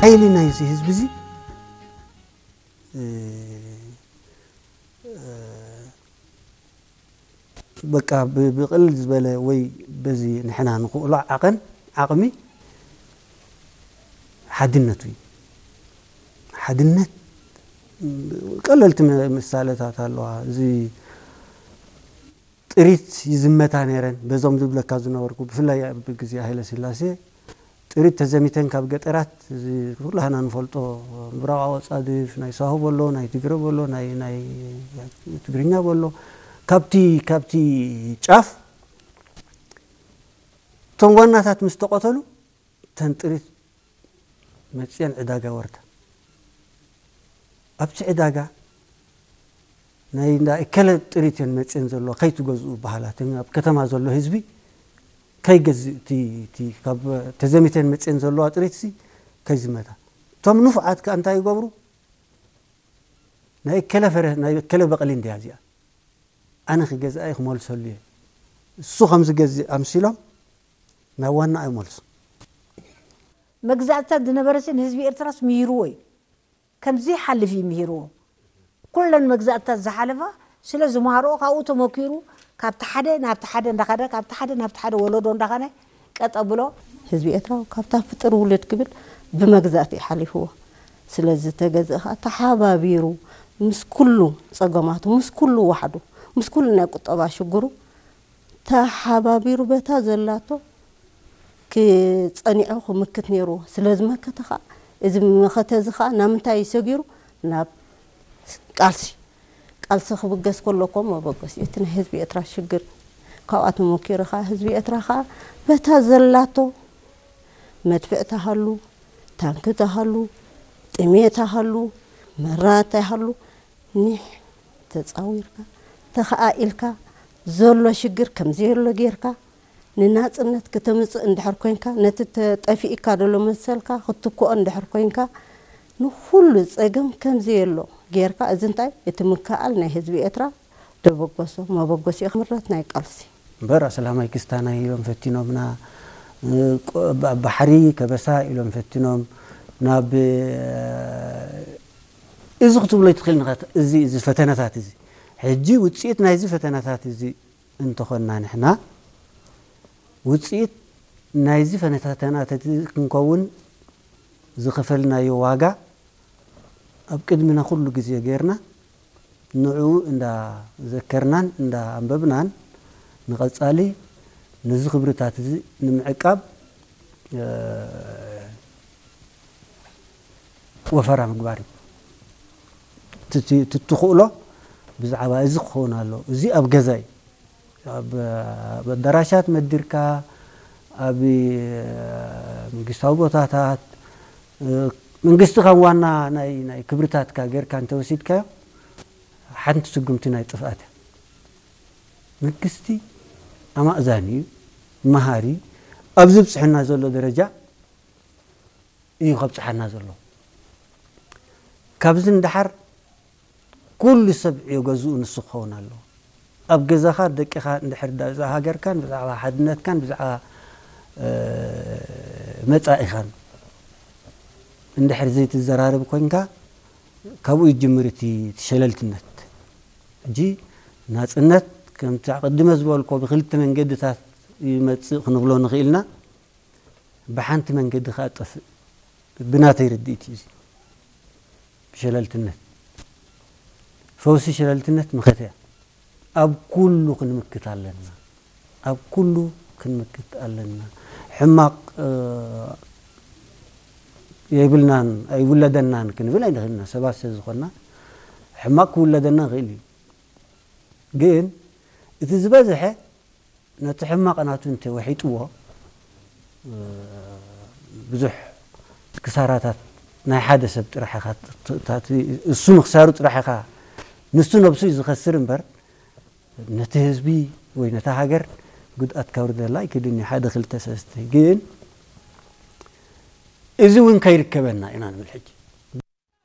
ሓይሊ ናይዚ ህዝቢ እዚ፣ እ፣ እ፣ በቃ ብ-፣ ብቕልል ዝበለ ወይ በዚ ንሕና ንኽእሎ ዓቐን፣ ዓቕሚ ሓድነቱ እዩ። ሓድነት፣ ቀለልቲ ም-፣ ምሳለታት ኣለዋ። እዚ ጥሪት ይዝመታ ነይረን፣ በዞም ዝብለካ ዝነበርኩ፣ ብፍላይ ኣብ ግዜ ሃይለ ስላሴ ጥሪት ተዘሚተን ካብ ገጠራት፣ እዚ ኩላህና ንፈልጦ፣ ምብራቕ ኣጻድፍ፣ ናይ ሳሆ በሎ፣ ናይ ትግረ በሎ፣ ናይ፣ ናይ ትግርኛ በሎ፣ ካብቲ፣ ካብቲ ጫፍ እቶም ዋናታት ምስ ተቐተሉ፣ ተን ጥሪት መጽየን ዕዳጋ ወርዳ። ኣብቲ ዕዳጋ ናይ እንዳ እከለ ጥሪት እየን መጽየን ዘለዋ፣ ከይትገዝኡ በሃላ። እቲ ኣብ ከተማ ዘሎ ህዝቢ ከይገዝእ፣ እቲ፣ እቲ ካብ ተዘሚተን መጽየን ዘለዋ ጥሪት ሲ ከይዝመታ። እቶም ንፉዓት ከ እንታይ ይገብሩ? ናይ እከለ ፈረ-፣ ናይ እከለ በቕሊ እንድያ እዚኣ። ኣነ ክገዝኣ እየ ክመልሰሉ እየ። እሱ ከም ዝገዝእ ኣምሲሎም ናብ ዋና ኣይመልሱ። መግዛእትታት ዝነበረ ሲ ንህዝቢ ኤርትራስ ምሂርዎ እዩ። ከምዚ ሓልፍ እዩ ምሂርዎ። ኩለን መግዛእትታት ዝሓለፋ ስለ ዝመሃርኦ ካብኡ ተመኪሩ ካብቲ ሓደ ናብቲ ሓደ እንዳኸደ፣ ካብቲ ሓደ ናብቲ ሓደ ወለዶ እንዳኸነ ቀጥ ኣብሎ። ህዝቢ ኤርትራ ካብታ ፍጥር ውልድ ክብል ብመግዛእቲ እዩ ሓሊፍዎ። ስለዚ ተገዝእ ከዓ ተሓባቢሩ ምስ ኩሉ ጸገማቱ፣ ምስ ኩሉ ዋሕዱ፣ ምስ ኩሉ ናይ ቁጠባ ሽግሩ ተሓባቢሩ በታ ዘላቶ ክጸኒዖ ክምክት ነይርዎ። ስለ ዝመከተ ከዓ እዚ መኸተ እዚ ከዓ ናብ ምንታይ እዩ ሰጊሩ? ናብ ቃልሲ። ቃልሲ ክብገስ ከሎ እኮ መበገሲ እዩ። እቲ ናይ ህዝቢ ኤርትራ ሽግር ካብኣ ተመኪሩ ከዓ ህዝቢ ኤርትራ ከዓ በታ ዘላቶ መድፍዕ ተሃሉ፣ ታንኪ ተሃሉ፣ ጥሜት ተሃሉ፣ መራት ተሃሉ፣ ኒሕ ተጻዊርካ፣ ተኸኣኢልካ፣ ዘሎ ሽግር ከም ዘየሎ ጌርካ፣ ንናጽነት ክተምጽእ እንድሕር ኮንካ፣ ነቲ ተጠፊእካ ዘሎ መሰልካ ክትክኦ እንድሕር ኮንካ፣ ንኹሉ ጸገም ከም ዘየሎ ጌርካ፣ እዚ እንታይ እቲ ምክኣል ናይ ህዝቢ ኤርትራ ደበገሶ፣ መበገሲኡ ክምረት ናይ ቃልሲ። እምበር ኣሰላማይ ክስታናይ ኢሎም ፈቲኖምና፣ እ፣ ቆ-፣ ባ-፣ ባሕሪ ከበሳ ኢሎም ፈቲኖም፣ ናብ፣ እ፣ እዚ ክትብሎ ይትኽእል ንኸት-፣ እዚ፣ እዚ ፈተነታት እዚ። ሕጂ ውጽኢት ናይዚ ፈተነታት እዚ እንተኾንና ንሕና፣ ውጽኢት ናይዚ ፈተነታት እዚ ክንከውን ዝኸፈልናዮ ዋጋ ኣብ ቅድሚና ኩሉ ግዜ ጌርና፣ ንዕኡ እንዳ ዘከርናን እንዳ ኣንበብናን፣ ንቐጻሊ ነዚ ክብርታት እዚ ንምዕቃብ፣ እ፣ ወፈራ ምግባር እዩ። ትቲ-፣ ትትኽእሎ ብዛዕባ እዚ ክኸውን ኣለዎ። እዚ ኣብ ገዛ እዩ። ኣብ፣ ኣብ ኣዳራሻት መዲርካ፣ ኣብ መንግስታዊ ቦታታት፣ እ፣ መንግስቲ ከም ዋና ናይ፣ ናይ ክብርታትካ ጌርካ እንተወሲድካዮ፣ ሓንቲ ስጉምቲ ናይ ጥፍኣት እያ። መንግስቲ ኣማእዛኒ እዩ፣ መሃሪ እዩ። ኣብዚ ብጽሕና ዘሎ ደረጃ እዩ ከብጽሓና ዘሎ። ካብዚ ንደሓር ኩሉ ሰብ ዕዮ ገዝኡ ንሱ ክኸውን ኣለዎ። ኣብ ገዛኻ ደቅኻ እንድሕር ዳ-፣ ብዛዕባ ሃገርካን ብዛዕባ ሓድነትካን ብዛዕባ፣ እ፣ መጻኢኻን እንድሕር ዘይትዘራረብ ኮንካ፣ ካብኡ ይጅምር እቲ፣ እቲ ሸለልትነት። ሕጂ ናጽነት ከምቲ ኣቐድመ ዝበልኮ ብክልተ መንገድታት ይመጽእ ክንብሎ ንኽእል ኢና። ብሓንቲ መንገዲ ከኣ ጠፍእ። ብናተይ ርድኢት እዩ እዚ። ብሸለልትነት። ፈውሲ ሸለልትነት መኸተ እያ። ኣብ ኩሉ ክንምክት ኣለና። ኣብ ኩሉ ክንምክት ኣለና። ሕማቕ፣ እ፣ የብልናን ኣይውለደናን ክንብል ኣይንኽእልና። ሰባት ስለ ዝኾንና ሕማቕ ክውለደና ይኽእል እዩ። ግን እቲ ዝበዝሐ ነቲ ሕማቕ ናቱ እንተ ወሒጥዎ፣ እ፣ ብዙሕ ክሳራታት ናይ ሓደ ሰብ ጥራሕ ኢኻ ት-፣ ት-፣ እታ እቲ እሱ ምኽሳሩ ጥራሕ ኢኻ፣ ንሱ ነብሱ እዩ ዝኸስር እምበር፣ ነቲ ህዝቢ ወይ ነታ ሃገር ጉድኣት ከውርደላ ኣይክእልን እዩ። ሓደ፣ ክልተ፣ ሰለስተ። ግን እዚ እውን ከይርከበና ኢና ንብል ሕጂ።